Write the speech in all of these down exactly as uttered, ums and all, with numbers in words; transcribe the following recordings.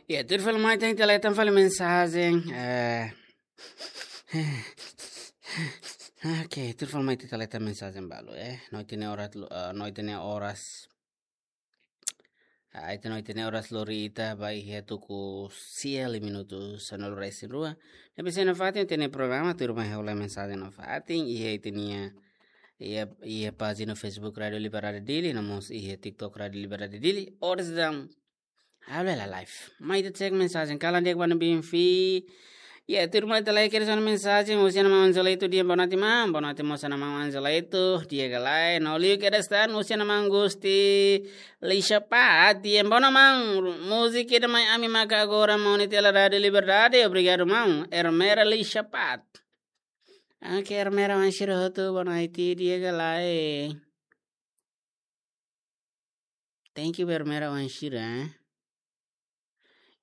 Ya, tuir fali mai ita hetan fali mensajen. Eh, oke, tuir fali mai ita hetan mensajen balu, eh. No ita-nia oras lo-, eh, no ita-nia oras. Ah, ita no ita-nia oras lori ita ba iha tuku sia liu minutu sanulu-resin-rua. Ne'ebé sei nafatin ita-nia programa, tuir mai ha'u lee mensajen nafatin, iha ita-nia, iha, iha pájina Facebook Rádio Liberdade Dili, no mós iha TikTok Rádio Liberdade Dili. Oras dan, halo la live. Mai ita cek mensajen, kalan di'ak ba ne'ebé fi. Ya, tuir mai ita lee kedas ona mensajen, husi Ana Maun Angelito, di'ak, boa noite, maun. Boa noite mós Ana Maun Angelito, di'ak ka lae. No liu kedas tan, husi Ana Maun Gusti Lixapat, di'ak, boa noite, maun. Múzika ida mai ami maka agora, maun, iha Rádio Liberdade, obrigadu, maun. Ermera Lixapat. Oke, Ermera, oan sira hotu, boa noite, di'ak ka lae. Thank you, Ermera, oan sira, eh.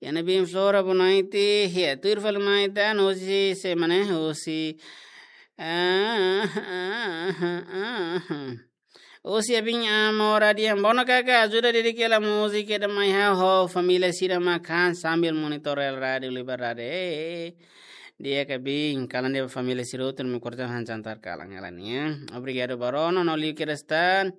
Iha ne'ebé Flora, boa noite. Ya, tuir fali mai ita, no husi semana, husi, ah, ah, ah, ah. Husi Abin Amora, di'ak, boa noite kaka, ajuda dedika hela múzika ida mai ha'u ho família sira mak han sambil monitor Rádio Liberdade. Eh, eh, eh. Di'ak ka Bin, kalan di'ak ba família sira hotu, no mós kona-ba han jantar kalan hela nian. Obrigadu ba rona, no liu kedas tan.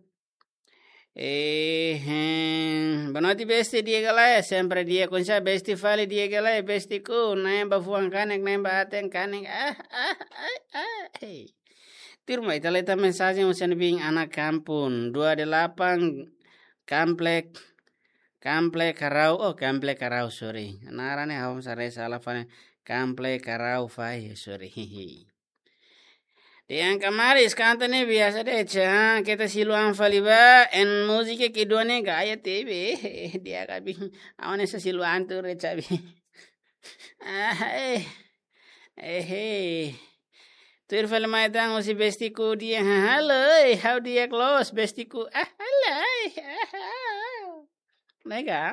Eh, eh, boa noite, besti, di'ak ka lae, sempre di'ak, oinsá besti fali, di'ak ka lae, bestiku, na'in ba fuan kanek, na'in ba aten kanek, ah, ah, ah, ah, hey. Tuir mai ita lee tan mensajen husi Ana Bin, Ana Kampung, dua delapan, Kamplek, Kamplek Karau, oh, Kamplek Karau, sorry. Naran ne'e ha'u sare sala fali, Kamplek Karau fai, sorry. Dehan kamaris kanta ne'e biasa de'it, ah, keta silu an fali ba, en múzika kedua ne'e gaya tebe, di'ak ka Bin, awan esa silu an tu re cabi. Ah, eh, eh, eh. Tuir fali mai tan husi bestiku di'ak, ha, halo, eh, ha'u di'ak loos, bestiku, ah, halo, eh, ah, ah. Nega.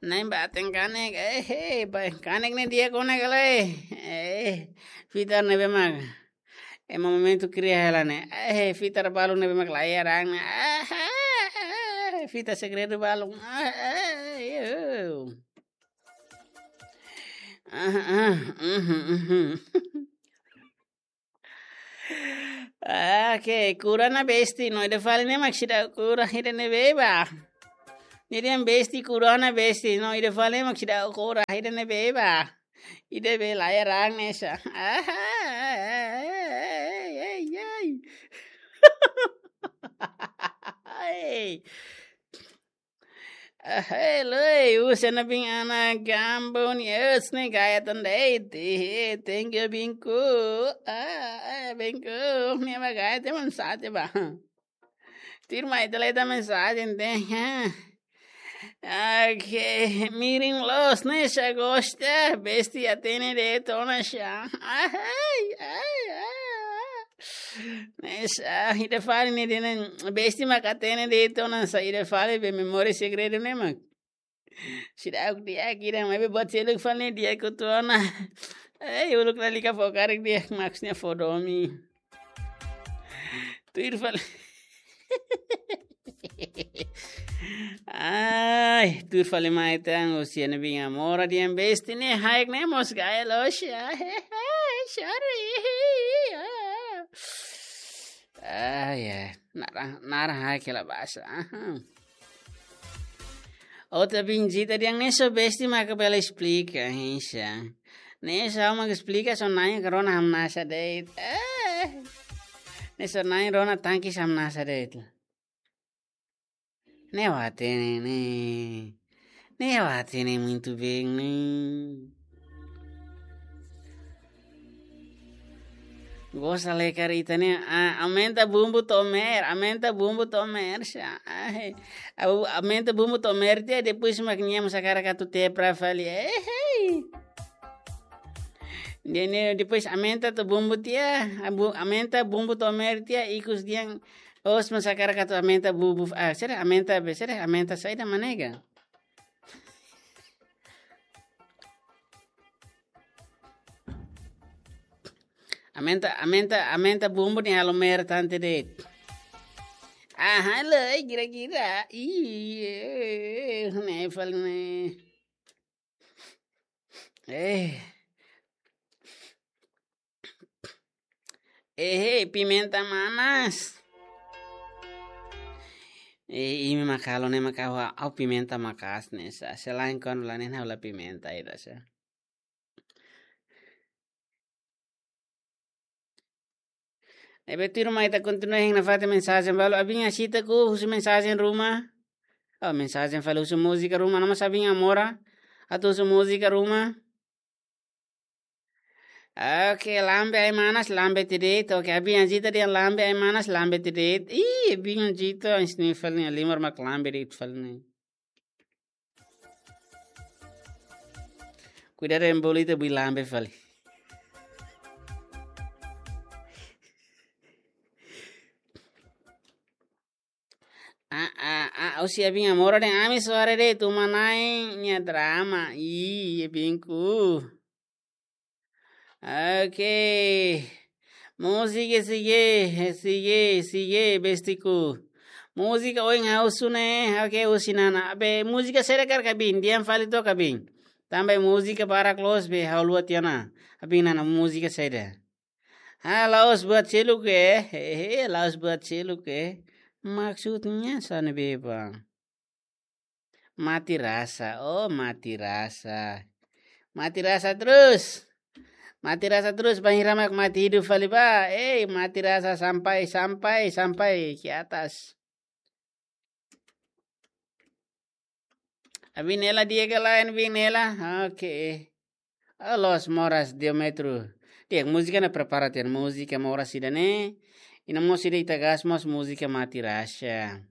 Na'in ba aten kanek, eh, eh, ba, kanek ne'e di'ak ona ka lae, eh, fitar ne'ebé mak ema momentu kria hela ne'e, eh, fitar balu ne'ebé mak lae rang ne'e, ah, ah, ah, fitar segredu balu, ah, ah, eh, oh. Ah, ah, mhm, mhm. Ah, oke, kura ona besti, no ida fali ne'e mak seidauk kura, ida ne'ebé ba. Jadi yang besti, kura ona besti, no ida fali ne'e mak seidauk kura, ida ne'ebé ba. Ida be lae rang ne'e sa. Ah, ai, ai, ai. Ai. Ah, hello, husi Ana Bin, Ana Kampung, yes, ne'e gaya tan de'it, eh, thank you, Binku. Ah, ah, Binku, ne'e mak gaya tan, maun, sate ba. Tuir mai ita lee tan mensajen de'it, ha. Oke, mirin loos, ne'e sa gosta, besti hatene de'it ona sa. Ai, ai, ai, ai. Ne'e sa, ida fali ne'e dehan, besti mak hatene de'it ona sa, ida fali be memória segredu ne'e mak. Seidauk di'ak, kira mai be buat seluk fali ne'e di'ak hotu ona. Eh, uluk lalika fó karik di'ak, maksudnya fó domin. Tuir fali. Ai, tuir fali mai tan, husi Ana Bin Amora, dehan besti ne'e haik ne'e mós gaya loos, ai, ai, ai, sorry. Ai, ai, naran, naran haik hela basa. Aha. Outra bendita dehan ne'e só besti maka bele esplika, hein, sa. Ne'e só mak esplika, só na'in rona hamnasa de'it. Eh. Ne'e só na'in rona tanki hamnasa de'it. Ne'e hatene ne'e. Ne'e hatene muito bem ne'e. Gosta lekar ita ne'e, ah, aumenta bumbu tomer, aumenta bumbu tomer, sa. Ah, eh. Au-, aumenta bumbu tomer tiha, depois mak nia mós hakarak atu tepra fali. Eh, hei. Nia, nia, depois aumenta to bumbu tiha, abu-, aumenta bumbu tomer tiha, ikus dehan, os mós hakarak atu aumenta bumbu, ah, sira aumenta be, sira aumenta saida mak ne'e ka? Aumenta, aumenta, aumenta bumbu nia halo mer tante de'it. Aha, lai, gira-gira. Ih, ne'e fali ne'e. Eh. Eh, pimenta manas. Eh, imi mak halo ne'e mak ha'u, ha'u pimenta maka'as ne'e sá. Selain kuandu la na'in ha'u la pimenta ida sá. Ne'ebé tuirmai ita kontinua hein nafatin mensajen balu. Abin Asita ku husu mensajen ruma. Oh, mensajen fali husu múzika ruma, no mós abin Amora atu husu múzika ruma. Oke, lambe ai-manas, lambe tiha de'it. Oke, abin Asita dehan lambe ai-manas, lambe tiha de'it. Ih, abin Asita, ins ni fali ne'e, limar mak lambe de'it fali ne'e. Kuidadu ema bolu ita bui lambe fali. Ah, ah, ah, husi abin Amora dehan ami soare de'it, tuma na'in nia drama. Ih, abinku. Oke. Múzika sigue, sigue, sigue, bestiku. Múzika ohin ha'u husu ne'e, oke, husi Nana. Be, múzika saida karik abin, dehan fali took abin. Tanba múzika barak loos be ha'u haluha tiha ona. Abin Nana múzika saida. Ah, la'ós buat seluk, eh. Hehe, la'ós buat seluk, eh. Maksudnya sá ne'ebé bang? Mati rasa, oh, mati rasa. Mati rasa terus. Mati rasa terus, bainhira mak mati hidup fali bá. Eh, mati rasa sampai, sampai, sampai ke atas. Abin Nela di'ak ka lae, abin Nela? Oke. Oh, loos moras Diómetro. Di'ak, múzika ne'e prepara tiha ona, múzika moras ida-ne'e. I no mós ida ita gasta mós múzika mati rasa.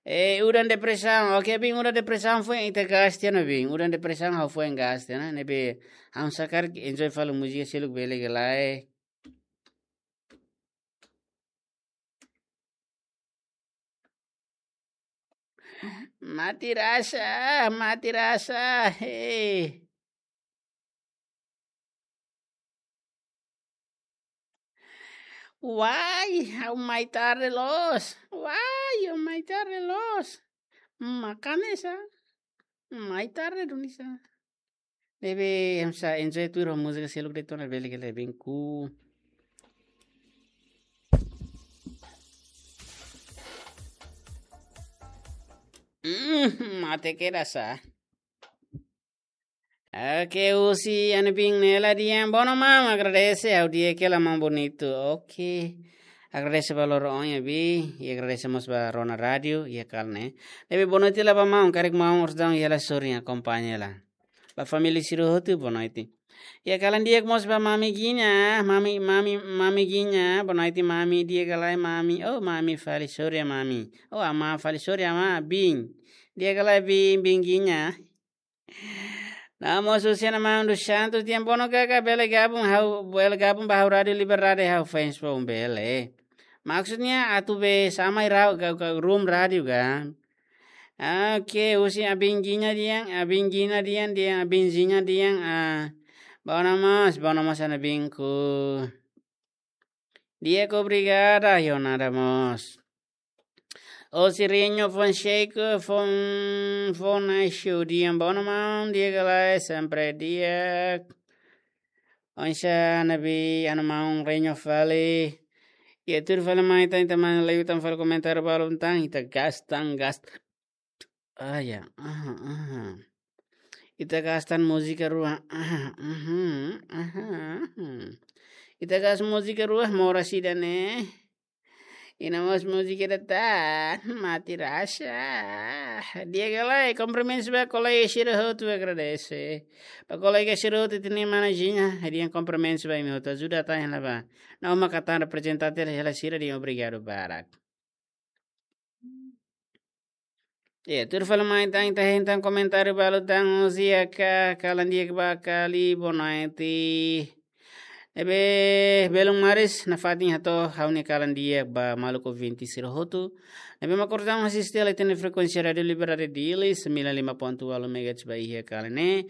Eh, udan depresaun. Oke, abin, udan depresaun foin ita gasta tiha ona, abin. Udan depresaun ha'u foin gasta tiha ona, ne'ebé ha'u sá karik enjoy fali múzika seluk bele ka lae. Mati rasa, mati rasa, hei. Wai, ha'u mai tarde loos. Wai, ha'u mai tarde loos. Maka'as sá. Mai tarde duni sá. Ne'ebé hamsa enjoy tuir ho múzika seluk de'it ona bele ka lae, abinku. Mm, mate keda sá. Oke, husi ami-nia abin Nela dehan, boa noite maun, agradese, ha'u di'ak hela maun, bonitu. Oke. Agradese ba loron ohin, abin, i agradese mós ba Rona Rádiu, iha kalan ne'e. Ne'ebé boa noite hela ba maun, karik maun orsida iha la sorin, akompaña hela. Ba família sira hotu, boa noite. Iha kalan di'ak mós ba Mami Ginha, Mami, Mami, Mami Ginha, boa noite Mami, di'ak ka lae Mami, oh Mami fali sorin Mami, oh Amá fali sorin Amá, Bin, di'ak ka lae Bin, Bin Ginha. No mós husi ami-nia maun dos Santos, dehan boa noite kaka, bele gabung ha'u, bele gabung ba ha'u Rádiu Liberdade, ha'u fans foun bele. Maksudnya atu be sama irau ka, ka room rádiu ka. Oke, husi abin Ginha dehan, abin Ginha dehan, dehan abin Ginha dehan, ah, boa noite mós, boa noite mós ami-nia abinku. Di'ak, obrigada, yo nada mós. Husi Reño Fonseca, Fon, Fon Aishu, dehan boa noite maun, di'ak ka lae, sempre di'ak. Oinsá ne'ebé ami-nia maun Reño fali. Iha tuir fali mai tan, ita mai liu tan fali komentáriu balun tan, ita gasta tan, gasta. Ah, ya. Aha, aha. Ita gasta tan múzika rua. Aha, mhm, aha, aha. Ita gasta múzika rua, moras ida-ne'e. I no mós múzika ida tan, mati rasa. Di'ak ka lae, kumprimentus ba kolega sira hotu, agradese. Ba kolega sira hotu, ita-nia mana Ginha, dehan kumprimentus ba imi hotu, ajuda tan hela bá. No maka tan reprezentante hela sira, dehan obrigadu barak. Iha tuir fali mai tan, ita hein tan komentáriu balun tan, husi iha ka, kalan di'ak ba Kali, boa noite. Ne'ebé belun maris, nafatin hato'o ha'u-nia kalan di'ak ba maluk ouvinte sira hotu. Ne'ebé mak orsida asiste hela ita-nia frekuénsia Rádiu Liberdade Dili, sembilan lima ponto walu megahertz ba iha kalan ne'e.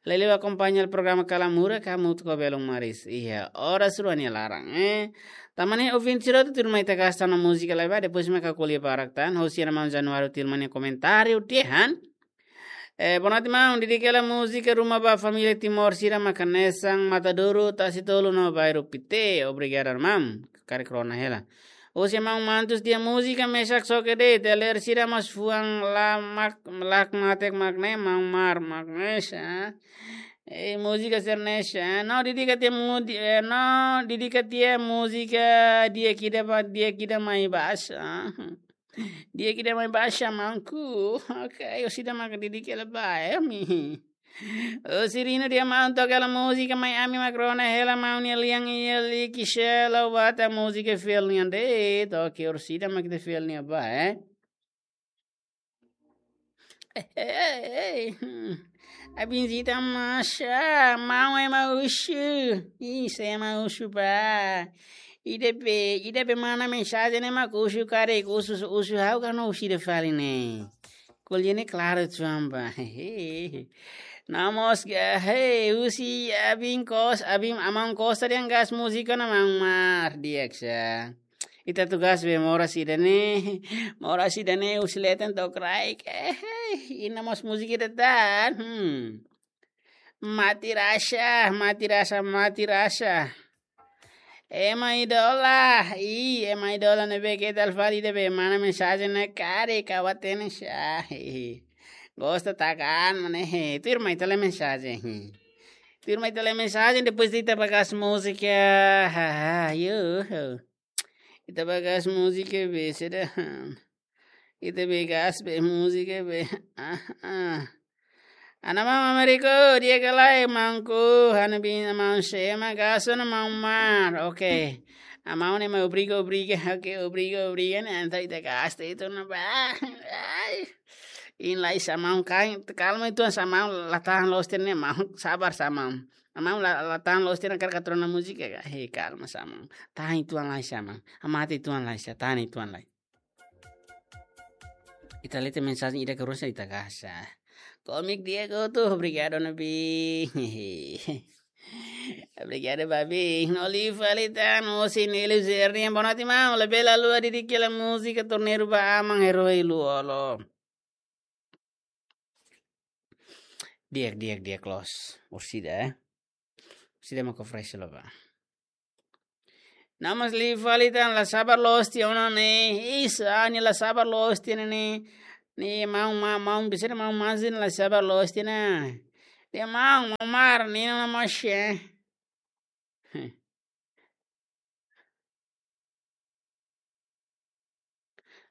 Liuliu akompaña programa Kalan Murak, hamutuk ho belun maris iha oras rua nia laran, eh. Tanba ne'e ouvinte sira hotu, tuirmai ita gasta tan ho múzika lai bá, depois mak ha'u ko'alia barak tan, husi ami-nia maun Januário Tilman nia komentáriu dehan. Eh, boa noite, maun. Dedika hela múzika Ruma ba Família Timor sira mak hanesan Matadouro, Tasitolu no Bairru Pité. Obrigadu, maun. Karik rona hela. Husi maun Mantus tiha múzika mesak soke de'it, ita ler sira mós fuan la mak, lak matek mak ne'e, maun Mar mak ne'e sa. Eh, múzika sira-ne'e sa. No dedika tiha mu-, di-, eh, no dedika tiha múzika di'ak ida ba, di'ak ida mai basa. Di'ak ida mai basa, maunku. Ok, orsida mak dedika hela ba, eh, mi. Orsida nia maun toka hela múzika mai ami mak rona hela maun nia lian iha liki sela wata múzika fiel nian de'it. Ok, orsida mak ita fiel nia ba, eh. Eh, eh, eh, hmm. Abin zita masa, maun ema husu. Ih, se ema husu ba. Ida be, ida be mana mensajen ne'e mak husu karik, husu, husu ha'u ka no husu ida fali ne'e. Ko'alia ne'e klaru uitoan ba. No mós ga, hei, husi Abin Kos, Abin Aman Kosta dehan gas múzika ona maun Mar, di'ak sa. Ita atu gas be moras ida-ne'e, moras ida-ne'e husi leten to'o kraik. Eh, hei, iha mós múzika ida tan. Hmm. Mati rasa, mati rasa, mati rasa. Ema idola, ih, ema idola ne'ebé keta fali ida be mana mensajen ne'e karik ka hatene sa. Ih, gosta takan mana he. Tuirmai ita lee mensajen. Tuirmai ita lee mensajen, depois ita bá gas múzika. Ha, ha, yo. Ita bá gas múzika be seda. Ita bá gas be múzika be. Ah, ah. Ana maun Américo, di'ak ka lae maunku, ana bin maun Sema, gas ona maun Mar, ok. Amaun ne'e mai obriga, obriga, ok, obriga, obriga, ne'e entaun ita gas tiha ona ba. Ai. Iha lais sa maun kain, kalma uitoan sa maun, la tahan loos tiha ne'e maun, sabar sa maun. Amaun la, la tahan loos tiha ona karik atu rona múzika ka, he, kalma sa maun. Tahan uitoan lai sa maun, hamate uitoan lai sa, tahan uitoan lai. Ita lee tiha mensajen ida ka rua sa ita gas sa. Komik di'ak hotu, obrigadu, Nabi. Obrigadu, Babi. No liu fali tan, osin ilu zerni, boa noite, maun. Labele haluha dedika hela múzika Torneiru ba Aman, Herói Lú-Olo. Di'ak, di'ak, di'ak loos. Orsida, eh. Orsida mak oferese lo ba. No mós liu fali tan, la sabar loos tiha ona ne'e. Isa, nia la sabar loos tiha ona ne'e. Ne'e maun, ma-, maun besar maun Mazin la sabar loos tiha ona. Nia maun, maun Mar, nia ona mós, eh.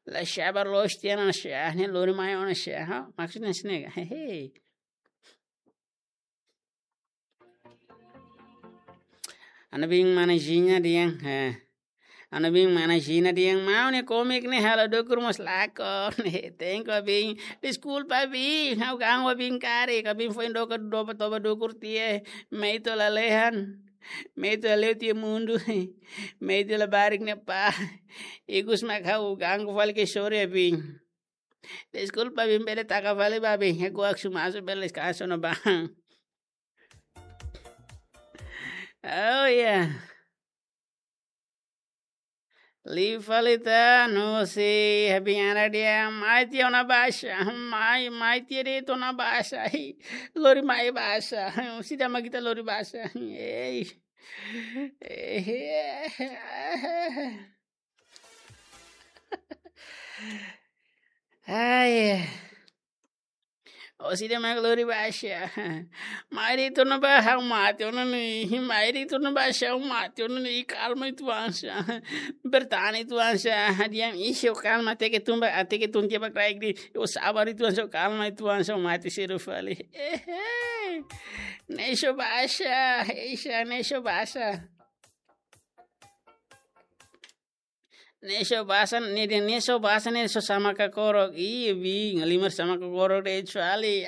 La sabar loos tiha ona sa, ne'e lori mai ona sa, ha? Maksudnya sini, hehe. Ana bin mana Jina dehan, eh. Ana bin mana Jina dehan, maun ne'e komik ne'e halo dukur mós lakon, ne'e. Tenke bin, deskulpa bin, ha'u ganggu bin karik, bin foin doka doba toba dukur tiha, mai to'o lalehan. Mai to'o lalehan tiha mundu. Mai to'o labarik ne'e pá. Ikus mak ha'u ganggu fali ke sorry bin. Deskulpa bin bele taka fali ba bin. Hekuak sumasu bele deskansa ona ba. Oh ya. Liu fali tan, no si, habin ana dehan, mai tiha ona basa, mai, mai tiha de'it ona basa, lori mai basa, sida mak ita lori basa, ei, ei, ai, orsida mak lori basa. Mai de'it ona ba ha'u mate ona ne'e. Mai de'it ona basa ha'u mate ona ne'e. Kalma uitoan sa. Bertahan uitoan sa. Diam iha, kalma, hateke tun ba, hateke tun tiha ba kraik de'it. Ó sabar uitoan sa, kalma uitoan sa, mate sedu fali. Ehe. Ne'e só basa. Ei sa, ne'e só basa. Ne'e só basa, ne'e dehan ne'e só basa, ne'e só sama kakorok. Ih, bin, halimar sama kakorok de'it fali.